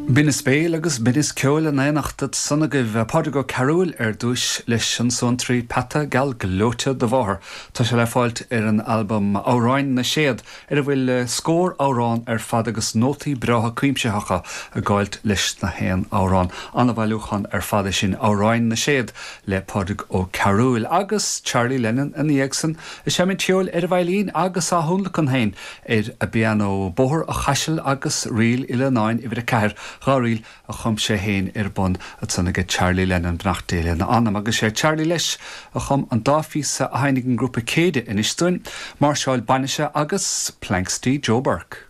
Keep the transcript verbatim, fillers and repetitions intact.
Binneas béil agus binneas ceoil in éineacht ansan agaibh Pádraig Ó Cearúil ar dtús leis an suantraí Peata Geal Gleoite do Mháthair. Tá sé le fáilt ar an albam Amhráin na Séad ar a bhfuil scór amhrán ar fad agus nótaí breátha cuimsitheacha ag gabháilt leis na haon amhrán. An-bhailiúchán ar fad é sin Amhráin na Séad le Pádraig Ó Cearúil agus Charlie Lennon ina dhiaidh san ag seinm ceoil ar an veidhlín agus á thionlacan féin ar an bpianó Bóthar an Chaisil agus Ríl Uí Leannáin uimhir a ceathair dhá ríl a chum sé féin ar bun ansan aige Charlie Lennon beannacht Dé lena anam agus sé Charlie leis a chum an dá phíosa a sheinneann an grúpa Céide anois dúinn, Máirseáil Bainise agus Planxty Joe Burke.